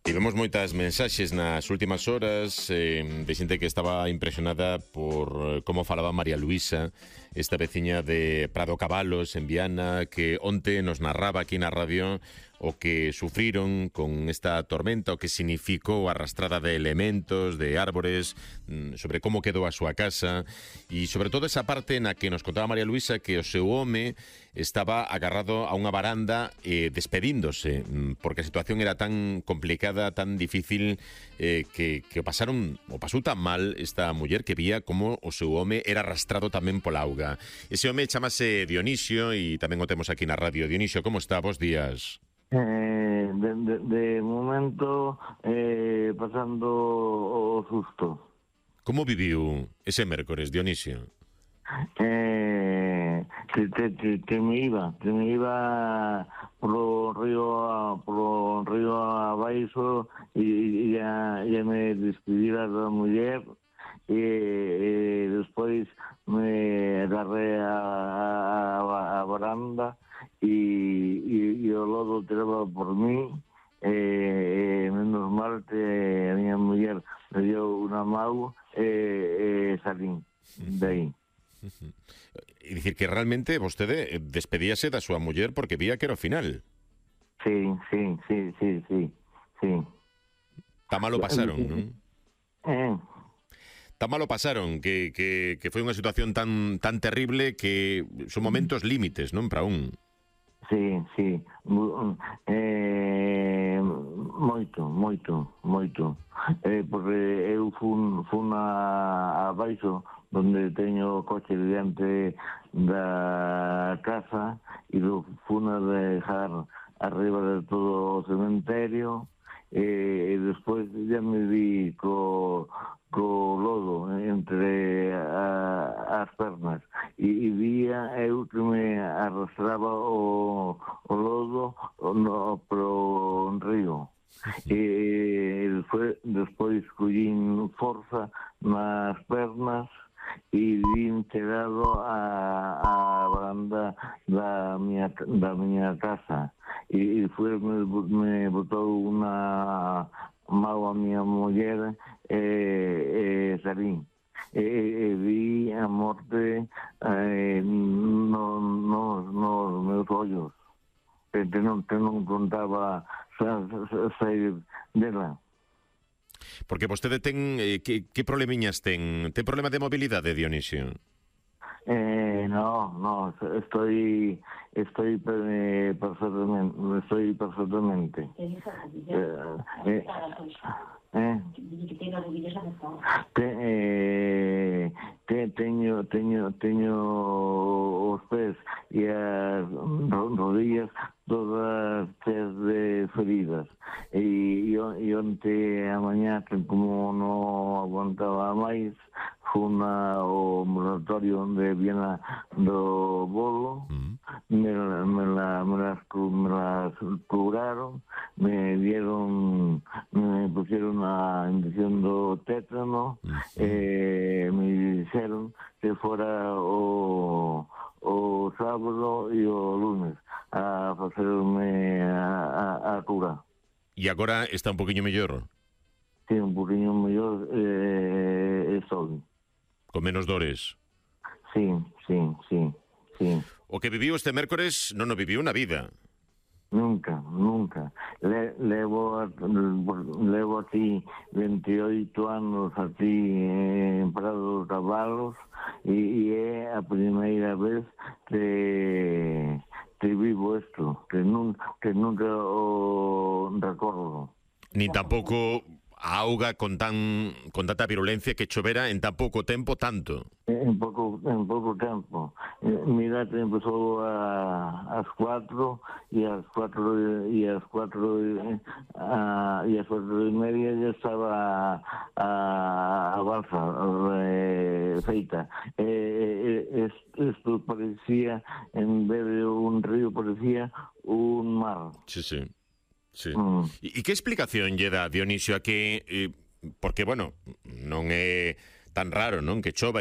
Tivemos moitas mensaxes nas últimas horas de xente que estaba impresionada por como falaba María Luisa, esta veciña de Prado Cabalos, en Viana, que onte nos narraba aquí na radio o que sufriron con esta tormenta, o que significou a arrastrada de elementos, de árbores, sobre como quedou a súa casa, e sobre todo esa parte na que nos contaba María Luisa que o seu home estaba agarrado a unha baranda despedíndose, porque a situación era tan complicada, tan difícil, que o pasou tan mal esta muller que vía como o seu home era arrastrado tamén pola auga. Ese home chamase Dionisio e tamén o temos aquí na radio. Dionisio, como está? Bos días. De momento pasando o susto. Como viviu ese mércores, Dionisio? Que me iba polo río abaixo e ya me despedira da muller e despois me agarré a baranda e o lodo tiraba por mí. Menos mal que a miña muller me dio unha mau e salín de aí. E dicir que realmente vostede despedíase da súa muller porque vía que era o final. Sí. Tá malo pasaron, non? Tá malo pasaron, que foi unha situación tan terrible que son momentos límites, non, para un. Sí. Moito. Porque eu fun abaixo donde teño o coche diante da casa e lo fun a dejar arriba de todo o cementerio e despois ya me vi co lodo entre as pernas e vía eu que me arrastraba o lodo pro río. E despois collín forza nas pernas e vin chegado a baranda da miña casa e me botou unha mau a miña muller e salín e vi a morte nos meus ollos que non contaba sair dela. Porque vostede ten... que problemiñas ten? Ten problema de mobilidade, Dionisio? No, estoy perfectamente. Teño os pés e as rodillas todas cheias de feridas e onte a mañá, que como non aguantaba máis, fun ao ambulatorio de Viana do Bolo, me las curaron, me pusieron a inyección do tétano, me dixeron que fora o sábado e o lunes a facerme a cura. E agora está un poquinho mellor? Sí, un poquinho mellor estou. Con menos dores? Sí. O que viviu este mércores non o viviu na vida. Nunca. Levo aquí 28 anos aquí en Prado Cabalos e é a primeira vez que vivo isto, que nunca o recordo. Ni tampouco a auga con tanta virulencia que chovera en tan pouco tempo tanto. En pouco tempo. Mira que empezou ás 4 e ás 4 e media ya estaba a balsa feita. Isto parecía, en vez de un río, parecía un mar. Sí. E que explicación lle dá, Dionisio, a que... porque, bueno, non é tan raro, non, que chova